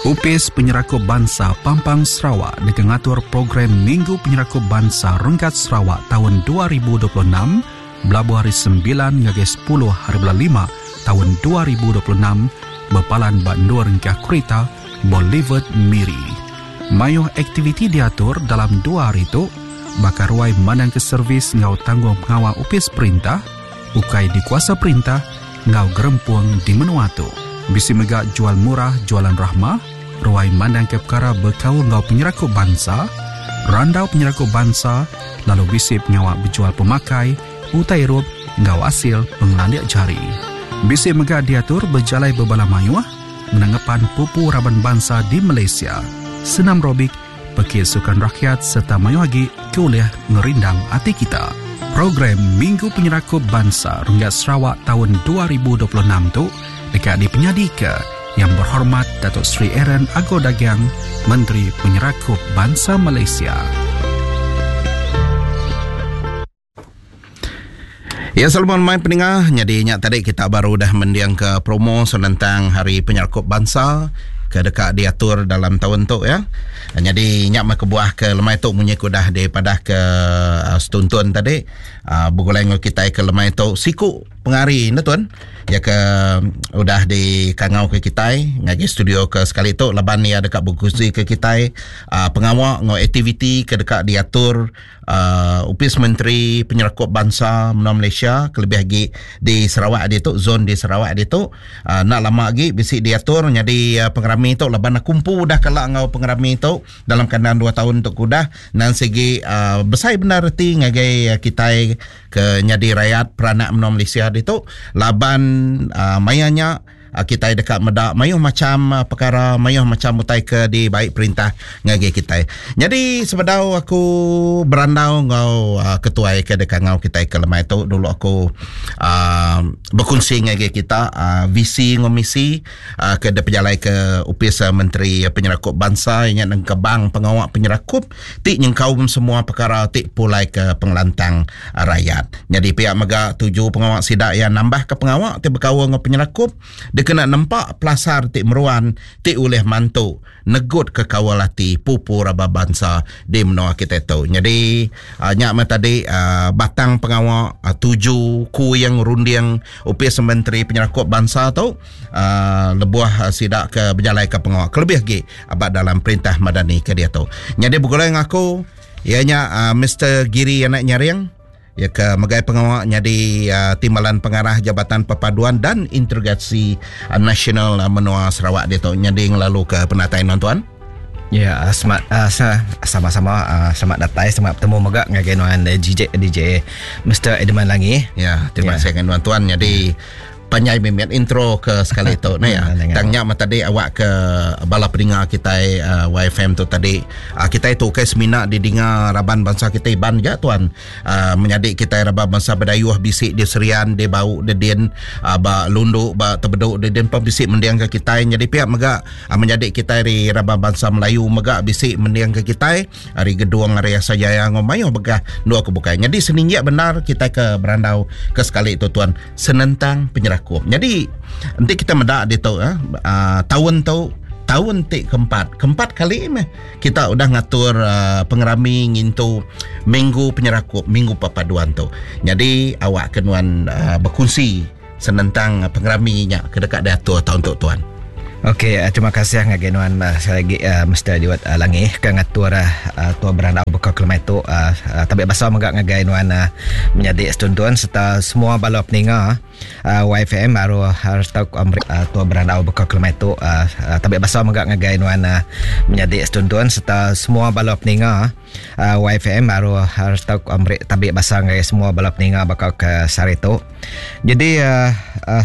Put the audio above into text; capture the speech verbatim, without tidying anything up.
Opis Penyerakup Bansa Pampang Sarawak deka ngatur program Minggu Penyerakup Bansa Renggat Sarawak taun dua ribu dua puluh enam belabuh hari sembilan ngagai sepuluh hari bulan lima taun dua ribu dua puluh enam bepalan ba endur engkah kerita Boulevard Miri. Mayuh aktiviti diatur dalam dua hari tu baka ruai mandang ke servis enggau tanggung pengawa opis perintah, ukai dikuasa perintah enggau gerempung di menua tu. Bisi mega jual murah jualan rahmah, ruai mandang ke perkara bekaul enggau penyerakup bansa, randau penyerakup bansa, lalu bisi pengawa berjual pemakai, utai irup enggau hasil pengelandik jari. Bisi mega diatur berjalai bebala mayuh, menangepan pupu raban bansa di Malaysia, senam robik, pekit sukan rakyat serta mayuh lagi keulih ngerindang hati kita. Program Minggu Penyerakup Bansa Renggat Sarawak tahun dua ribu dua puluh enam tu dekat dipenyadi ke Yang Berhormat Datuk Seri Aaron Ago Dagang, Menteri Penyerakup Bansa Malaysia. Ya, selamat main pendengar. Jadi nyak tadi kita baru dah mendiang ke promo tentang Hari Penyerakup Bansa ke dekat diatur dalam tahun tu ya. Jadi nyak mah kebuah ke lemai tu munyi kudah daripada ke uh, setuntun tadi uh, bergulai dengan kita ke lemai tu siku pengari ne tuan ya ke udah di kangau ke kita ngagi studio ke sekali tu laban ya dekat berkongsi ke kita uh, pengawak ngau aktiviti ke dekat diatur uh, Opis Menteri Penyerakup Bansa Menua Malaysia kelebih lagi di Sarawak dia tu zon di Sarawak dia tu uh, nak lama lagi bisi diatur jadi uh, pengerami tu laban kumpu dah kelak ngau pengerami tu dalam kandang dua tahun untuk kudah dan segi uh, besai benar reti ngagai uh, kita ke nyadi rakyat peranak menua Malaysia dia tu laban uh, mayanya uh, kita dekat medak mayuh macam uh, perkara mayuh macam utai ke di baik perintah ngagai kita. Jadi sebedau aku berandau ngau uh, ketua ke dekat ngau kita ke lemai tu dulu aku uh, berkongsi ngagai kita uh, visi ngau misi uh, ke de pejalai ke Opis Menteri Penyerakup Bansa ingat nang kebang pengawak penyerakup ti nyengkaum semua perkara ti pulai ke pengelantang uh, rakyat. Jadi pihak mega tuju pengawak sidak yang nambah ke pengawak ti berkaul ngau penyerakup kena nampak pelasar ti meruan ti ulih mantu negut ke kawalati pupu raba bangsa di menua kita tu. Jadi uh, nyak mah tadi uh, batang pengawak uh, tuju ku yang runding Opis Menteri Penyerakup Bansa tu uh, lebuah uh, sidak ke berjalai ke pengawak kelebih lagi abad dalam perintah madani ke dia tu. Jadi bergulai dengan aku ianya uh, Mister Giri anak Nyaring ya ke megai pengawak jadi uh, timbalan pengarah Jabatan Perpaduan dan Integrasi uh, Nasional uh, Menua Sarawak dia tu nyadi lalu ke penatai tuan. Ya, selamat uh, sama-sama uh, selamat datang, selamat bertemu megak ngagai nuan D J D J Mister Edmund Langi. Ya, terima kasih dengan tuan-tuan. Jadi panjai mimiat intro ke sekali tu nah ya. Tangnya mah tadi awak ke bala pendengar kita uh, Y F M tu tadi uh, kita itu ke semina didengar raban bangsa kita Iban je tuan. Uh, menyadik kita raban bangsa Bidayuh bisik di Serian, di Bau, di Din, uh, ba Lundu, ba Tebeduk, di Din pun bisik mendiang ke kita. Jadi pihak megak uh, menyadik kita di raban bangsa Melayu megak bisik mendiang ke kita hari Gedung hari Asajaya ngomayo begah dua kebukai. Jadi seninjak benar kita ke berandau ke sekali tu tuan senentang penyerakup. Jadi nanti kita medak dia tu eh, uh, tahun tu tahun tik keempat keempat kali meh kita udah ngatur uh, pengerami ngintu minggu penyerakup minggu perpaduan tu. Jadi awak kenuan uh, berkongsi senentang pengeraminya ke dekat diatur tahun tu tuan. Okey, uh, terima kasih ngagai nuan uh, sekali lagi uh, Mister Diwat uh, Langi ke ngatur uh, tua berandau bekal kelemai tu uh, uh, tabik basa megak ngagai nuan uh, menyadik setuntun serta semua bala peninga uh, Y F M baru harus tahu uh, tua berandau bekal kelemai tu uh, uh, tabik basa megak ngagai nuan uh, menyadik setuntun serta semua bala peninga uh, Y F M baru harus tahu uh, tabik basa ngagai semua bala peninga bakal ke sari tu. Jadi uh, uh,